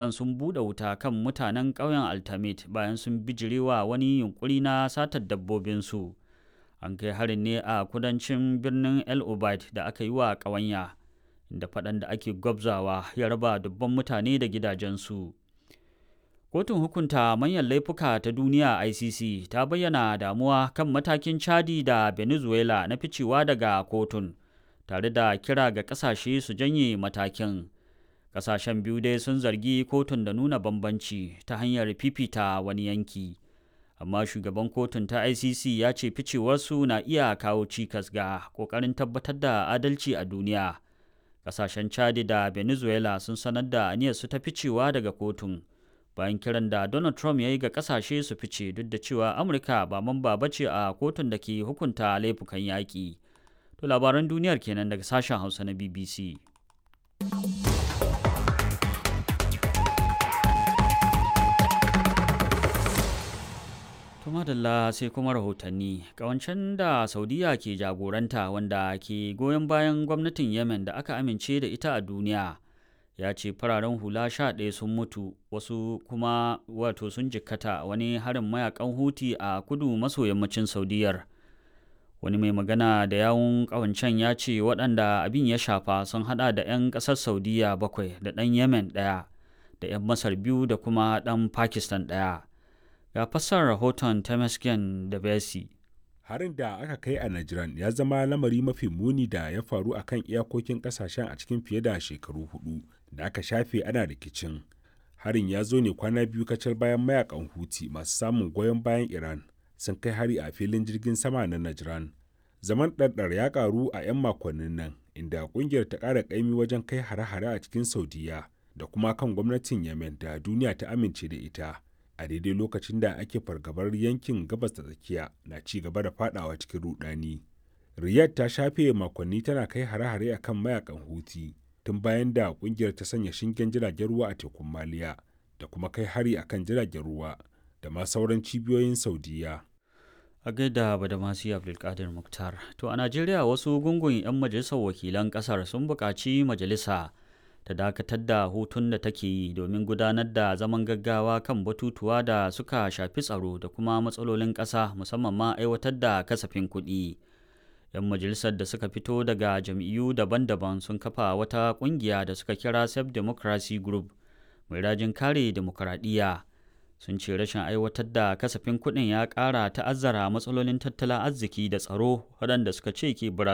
Sun buɗe wuta kan mutanen ƙauyen Altamit bayan sun bijirewa wani yunƙuri na satar dabbobinsu. An kai harin ne a kudancin birnin El Obeid da aka yi wa ƙawanya, inda faɗan da ake gwabzawa ya raba dubban mutane da gidajensu. Kotun Hukunta Manyan Laifuka ta Duniya (ICC) ta bayyana damuwa kan matakin Chadi da Venezuela na ficewa daga kotun, tare da kira ga ƙasashe su janye matakin. Ƙasashen biyu dai sun zargi kotun da nuna bambanci ta hanyar fifita wani yanki. Amma shugaban kotun ta ICC ya ce ficewarsu na iya kawo cikas ga ƙoƙarin tabbatar da adalci a duniya. Ƙasashen Chadi da Venezuela sun sanar da aniyarsu ta ficewa daga kotun, bayan kiran da Donald Trump ya yi ga ƙasashe su fice duk da cewa Amurka ba mamba ba ce a kotun da ke hukunta laifukan yaƙi. To labaran duniyar kenan daga sashen Hausa na BBC. To madalla sai kuma rahotanni. Ƙawancen da Saudiya ke jagoranta wanda ke goyon bayan gwamnatin Yemen da aka amince da ita a duniya ya ce fararen hula 11 sun mutu wasu kuma wato sun jikkata wani harin mayakan Huti a kudu maso yammacin Saudiyar. Wani mai magana da yawun ƙawancen ya ce waɗanda abin ya shafa sun hada da 'yan ƙasar Saudiya bakwai da ɗan Yemen ɗaya da 'yan Masar biyu da kuma ɗan Pakistan ɗaya. Ga fassarar rahoton Temesgen da Besi. Harin da aka kai a Najran ya zama lamari mafi muni da ya faru a kan iyakokin kasashen a cikin fiye da shekaru 4 da aka shafe ana rikicin. Harin ya zo ne kwana biyu kacal bayan mayakan Huti masu samun goyon bayan Iran sun kai hari a filin jirgin sama na Najran. Zaman ɗarɗar ya ƙaru a 'yan makonnin nan inda ƙungiyar ta ƙara ƙaimi wajen kai hare-hare a cikin Saudiya da kuma kan gwamnatin Yemen da duniya ta amince da ita. A daidai lokacin da ake fargabar yankin Gabas ta Tsakiya na ci gaba da fadawa cikin rudani. Riyadh ta shafe makonni tana kai hare-hare akan mayakan Huti tun bayan da kungiyar ta sanya shingen jiragen ruwa a tekun Maliya da kuma kai hari akan jiragen ruwa da ma sauran cibiyoyin Saudiya. A gaida Badamasi Abdulkadir Muktar. To a Najeriya wasu gungun 'yan majalisar wakilan kasar sun buƙaci majalisa ta dakatar da hutun da take yi domin gudanar da zaman gaggawa kan batutuwa da suka shafi tsaro da kuma matsalolin ƙasa, musamman ma aiwatar da kasafin kuɗi. 'Yan majalisar da suka fito daga jam'iyyu daban-daban sun kafa wata ƙungiya da suka kira Self Democracy Group mai rajin kare dimokuraɗiyya. Sun ce rashin aiwatar da kasafin kuɗin ya ƙara ta'azzara matsalolin tattalin arziki da tsaro waɗanda suka ce ke barazana.